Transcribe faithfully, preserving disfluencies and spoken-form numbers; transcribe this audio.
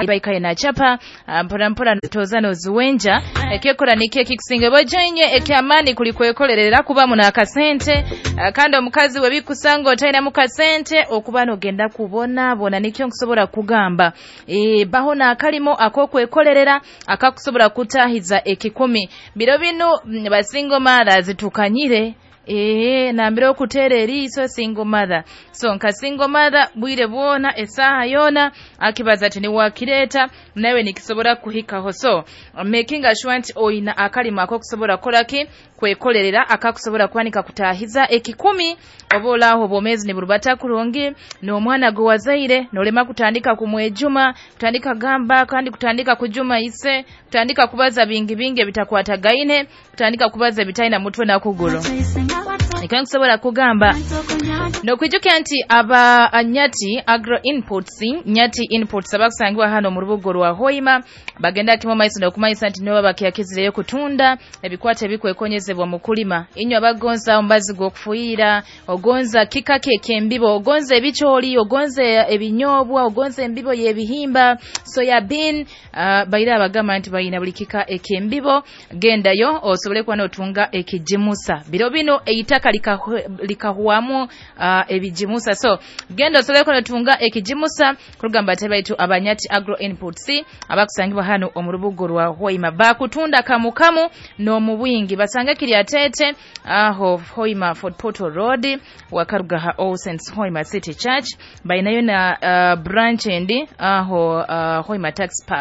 Baikaye nachapa mpora mpora toza noziwenja ekyekora nikyo ekikusinga bojenye ekyamani kuli kwekolerera kuba muna akasente. Kandi omukazi we bikusanga otaina mukasente okuba nogenda kubona bona nikyo nkusobora kugamba e, baho nakalimo akokwekolerera akakusobora kutahiza ekikumi. Biro bino basingo mara zitukanyire ee nambire okuteera eriiso single mother. So nka single mother bwire bwona esaha yona akibaza ati niwakireeta nawe nikisobora kuhikaho. So making sure nti oyina akalimo akokusobora kukoraki kwekolerera akakusobora kwanika kutahiza ekikumi oba olaaho obwomezi niburubata kurungi n'omwana gwe wazaire nolema kutandika kumwejuma, kutandika gamba kandi kutandika kujuma ise, kutandika kubaza bingi bingi ebitakwatagaine, kutandika kubaza ebitaina mutwe na kuguru. Nikyo nkusobola kugamba nokwijukira nti aba Nyati Agro Inputs, Nyati Inputs abakusangibwa hano mu rubuga rwa Hoima bagenda kimo maiso nokumanyisa nti nibo bakyakizireyo kutunda ebikwate ebikwekonyezebwa mu kulima. Inywe abagonza ombazi gw'okufuyira, ogonza kikake ekyembibo, ogonza ebikyoli, ogonza ebinyobwa, ogonza embibo y'ebihimba, soya bean, uh, baira abagamba nti bayina buli kika ekyembibo. Gendayo osobole kuba notunga ekijimusa. Biro bino eitaka likahuamu uh, ebijimusa. So genda osobole kuba notunga ekijimusa kurugamba tebaitu abanyati Agro Inputs abakusangibwa hano omu rubuga rwa Hoima bakutunda kamukamu n'omu bwingi. Basanga kiri atete aho Hoima Fort Portal Road wakaruga All Saints Hoima City Church, bainayo na uh, branch endi aho uh, Hoima Tax Park.